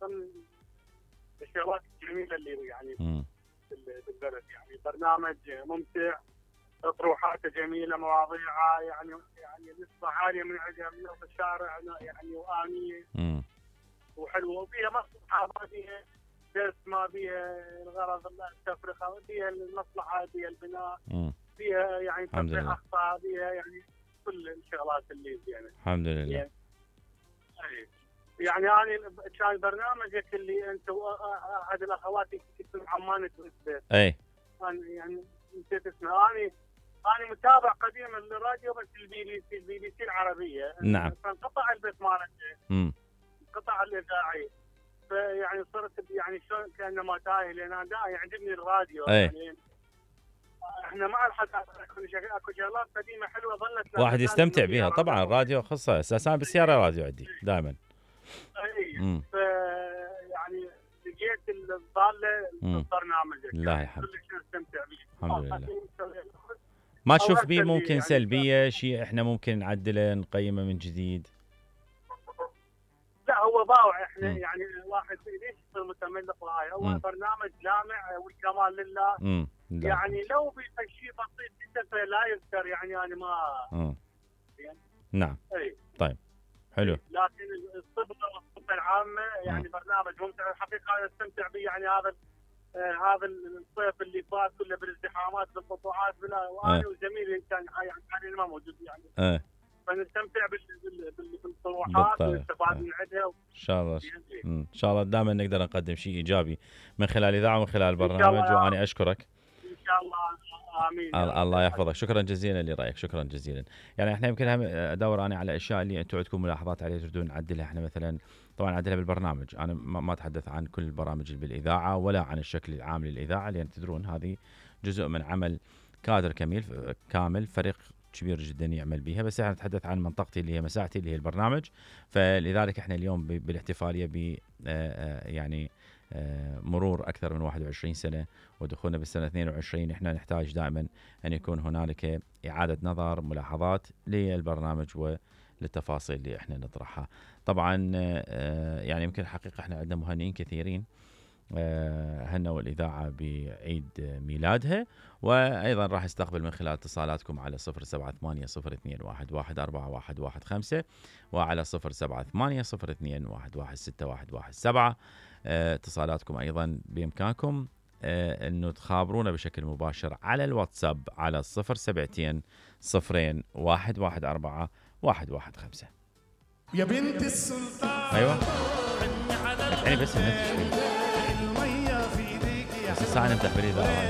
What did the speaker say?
ضمن الشغلات الجميله اللي يعني بالبلد. يعني برنامج ممتع، اطروحاته جميله، مواضيعها يعني نسبه عاليه من عندها من الشارع يعني وانيه وحلوه، وفيها مصلحه، ما فيها درس، ما فيها الغرض التفرقه، فيها المصلحه، فيها البناء، فيها يعني تصحيح اخطاء، فيها يعني كل الشغلات اللي زينه. الحمد لله. يعني انا كان برنامجك اللي انت احد الاخوات كنت عمان تثبت. اي انا يعني نسيت اسمه. انا متابع قديم للراديو، بس البي بي سي العربيه. نعم. فانقطع البث مالته. انقطع الاذاعي. فيعني صرت يعني شلون كانما تايه، لان انا يعجبني الراديو. يعني احنا مع الحداثه اكو شغلات قديمه حلوه ظلت واحد يستمتع بها. طبعا الراديو خاصه اساسا بالسياره راديو عندي دائما. اي يعني لقيت الضاله البرنامج. لا الحمد كلش نستمتع به. الحمد لله. ما تشوف بيه ممكن يعني سلبيه شيء احنا ممكن نعدله نقيمه من جديد؟ لا هو باوع. احنا يعني الواحد ليش يصير متملق وهاي؟ هو برنامج لامع والكمال لله. يعني لو بشيء بسيط جدا فلا يذكر. يعني انا ما يعني نعم. طيب حلو. لكن الصبغه والصبغه العامه يعني برنامج ممتع الحقيقه. انا استمتع به. يعني هذا الصيف اللي فات كله بالازدحامات بالقطوعات وانا وزميلي كان يعني ما موجود يعني. فنستمتع بالطروحات ونستفاد من عندها. ان شاء الله. ان شاء الله دائما نقدر نقدم شيء ايجابي من خلال الاذاعه ومن خلال البرنامج. وانا اشكرك. ان شاء الله. امين. الله يحفظك. شكرا جزيلا لرايك. شكرا جزيلا. يعني احنا يمكن ادور انا على اشياء اللي انتم عندكم ملاحظات عليها تريدون نعدلها. احنا مثلا طبعا نعدلها بالبرنامج. انا ما اتحدث عن كل البرامج اللي بالاذاعه ولا عن الشكل العام للاذاعه، لان تدرون هذه جزء من عمل كادر كامل، فريق كبير جدا يعمل بها. بس احنا نتحدث عن منطقتي اللي هي مساحتي اللي هي البرنامج. فلذلك احنا اليوم بالاحتفاليه ب يعني مرور اكثر من 21 سنه ودخولنا بالسنه 22، احنا نحتاج دائما ان يكون هنالك اعاده نظر، ملاحظات للبرنامج وللتفاصيل اللي احنا نطرحها. طبعا يعني يمكن الحقيقه احنا عندنا مهنئين كثيرين هنوا الإذاعة بعيد ميلادها، وأيضا راح استقبل من خلال اتصالاتكم على 078-0211-415 وعلى 078-0211-61117. اتصالاتكم أيضا بإمكانكم أنه تخابرونا بشكل مباشر على الواتساب على 072-0114-115. يا بنت السلطان. أيوة يعني بس النت شوي. بس الساعة نفتح بالإذاعة.